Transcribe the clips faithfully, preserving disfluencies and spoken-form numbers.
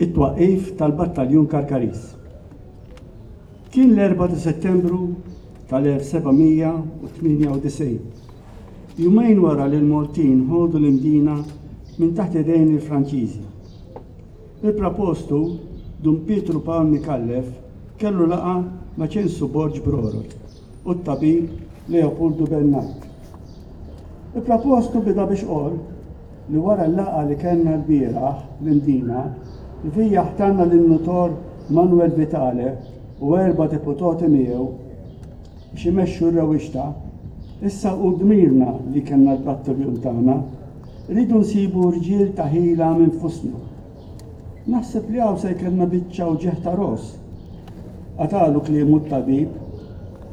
It-twaqqif tal-Battaljun Karkariż. Kien l-erbgħa ta' Settembru tal-elf seba' mija u tmienja u disgħin, jumejn wara li l-Maltin ħodu l-Imdina minn taħt idejn il-Franċiżi. Il-Prapostu Dun Pietru Pawl Micallef kellu laqgħa ma' Ċensu Borg Brorot u t-tabib Leopoldu Bernard. Il-Prapostu bida biex qol li wara l-laqgħa li kellna l-bieraħ l-Imdina, li fija ħtanna lin-nutor Manuel Vitale u erba' deputati miegħu biex imexxu r-rewwixta, issa hu dmirna li kellna l-battaljun tagħna, rridu nsibu rġiel ta' ħila minn fusna. Naħseb li hawn se jkellna biċċa uġigħ ta' ros. Qatalu kliemu t-tabib,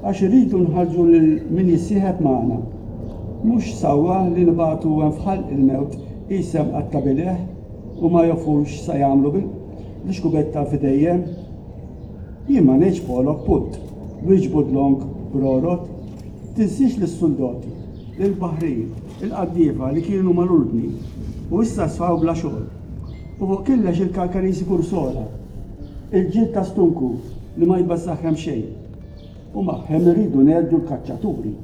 għax irridu nħarġu lil min jissieħeb magħna. Mhux sewwa li nibagħtu hemm f'ħalq il-mewt qisem qatta' bileh u ma jafux sa jagħmlu bil-xkubetta f'idejjem. Jien ma ngħidx polok putt, wieġbu dlonk brorot. Tinsiex lis-suldati, lill-baħrin, il-qaddiefa li kienu mal-ordni u issa sfaw bla xogħol. U fuq killex il-Karkarisi Kursola, il-ġild ta' stunku li ma jbażżaħhem xejn. U magħhem irridu ngħeddu l-kaċċaturi.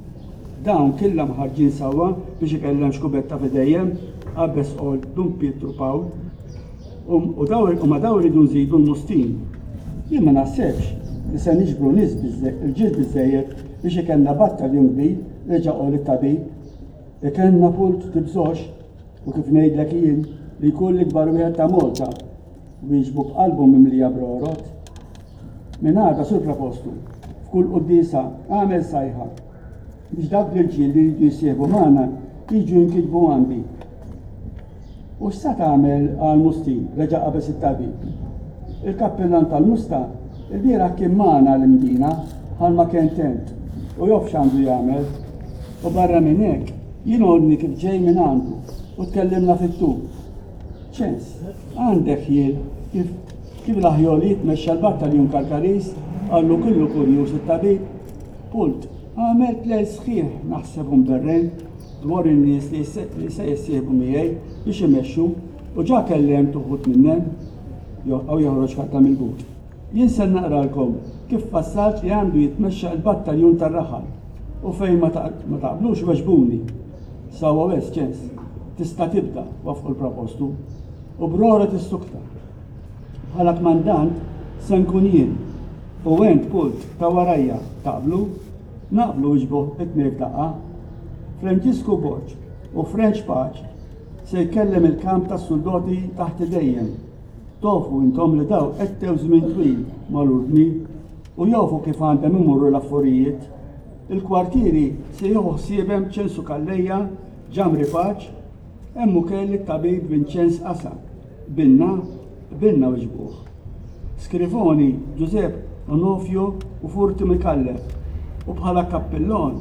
Dawn killa mħarġin sewwa biex ikellem xkubetta f'idejjem, qabeż qol Dun Pietru Pawl. U, u daw, u ma daw irridu nżidu l-mustin. Jien ma naħsebx li se niġbru nies biżżej-, irġiel biżżejjed biex ikellna battaljun kbir, reġa' qol it-tabib. Ikellna pult tibżox, u kif ngħidlek jien li jkun l-ikbar wieħed ta' Malta, wieġbu b'qalbu mimlija brorot. Minn għada sur Prapostu, f'kull quddiesa għamel sajħa biex dawk l-irġiel li jridu jissieħbu magħna jiġu jinkitbu għandi. U x'sa tagħmel għal Mustin? Reġa' qabeż it-tabib. Il-kappillan tal-Musta il-bieraħ kien magħna l-Imdina bħalma kien tent u jof x'għandu jagħmel. U barra minn hekk jien għodni kif ġej minn għandu u tkellimna fit-tul. Ċens, għandek ħjiel kif, kif l-aħjol jitmexxa l-battaljun Karkariż, qallu kullu kurjuż it-tabib. Pult, għamilt lejl sħiħ naħseb u mberren dwar in-nies li se, li se jissieħbu miegħi biex imexxu u ġa kellemt uħud minnhom. Jew joħroġ karta mill-but. Jien se naqralkom kif fassalt li għandu jitmexxa l-battaljun tar-raħal u fejn ma ta-, ma taqblux weġbuni. Sawa wes, Ċens, tista' tibda, wafqu l-propostu. U brora tissukta. Bħala kmandant se nkun jien. U ent pult ta' warajja taqblu? Naqblu wieġbu it-tnejn f'daqqa. Franġisku Borg u French Paċ se jkellem il-kamp tas-soldati taħt idejjem. Tofu intom li daw qedtew żmien twil mal-ordni u jafu kif għandhom imorru l-affarijiet. Il-kwartieri se jieħu ħsiebhem Ċensu Calleja, Ġamri Paċ, hemm ukoll it-tabib Vincenz Asa. Binna, binna wieġbuh. Scrivoni, Giuseppe Onofio u Furti Micallef. U bħala kappillon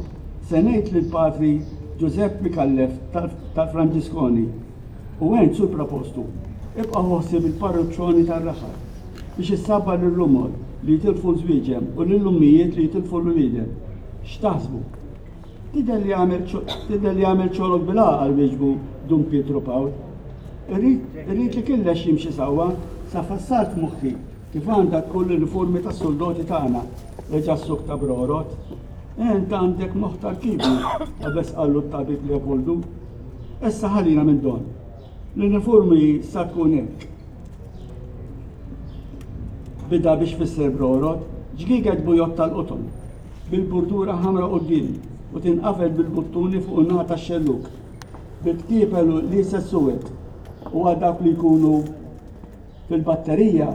se ngħid lil patri Giuseppe Micallef tal-, tal-Franġiskoni. U ent sur propostu, ibqa' ħsieb il-parruċċoni tar-raħal biex issabbar lir-rumor li jitilfu żwieġem u lill-ummijiet li jitilfu l-uliedem. X'taħsbu? Tidher li għamel ċo-, tidher li għamel ċolok bil-għaqal wieġbu Dun Pietru Pawl. Irrid, irrid li killex jimxi sewwa sa fassalt f'moħħi kif għandha tkun l-uniformi tas-soldati tagħna, reġa' s-suk ta' brorot. Ent għandek moħħ tal-kibru, qabeż qallu t-tabib Leopoldu. Issa ħalina minn don. L-uniformi sa tkun hekk. Bida biex fisser brorot, ġgiget bujot tal-qoton, bil-burdura ħamra quddiem u tinqafel bil-buttuni fuq in-naħa tax-xelluk, bil-ktiepel u l-liset suwed, u għal dawk li jkunu fil-batterija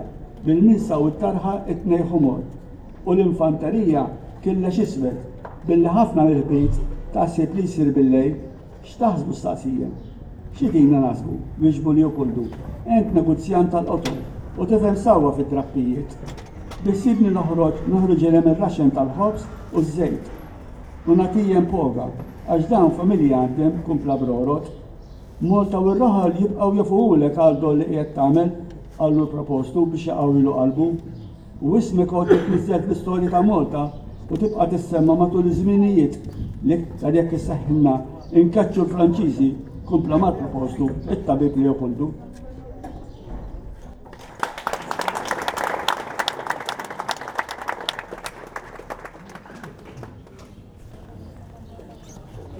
bil-minsa u t-tarħa it-tnejn ħomor, u l-infanterija killex iswed, billi ħafna mill-ħbit taħseb li jsir bil-lejl. X'taħsbu staqsija? Xi tina naħsbu? Wieġbu Leopoldu. Ent negozjant tal-qoton u tifhem sewwa fid-drappijiet. Biħsibni noħroġ, noħroġ ilhem ir-raxen tal-ħobż u ż-żejt. U nagħtijem poga, għax dawn familja għandhem kumpla brorot. Malta u r-raħal jibqgħu jafuhulek għal dol li qiegħed tagħmel, qallu l-propostu biex jaqawwilu qalbu. U ismek għod titniżżel fl-istorja ta' Malta u tibqa' tissemma matul iż-żminijiet l-iktar jekk isseħħilna inkaċċu l-Franċiżi, kumpla mal-propostu it-tabib Leopoldu.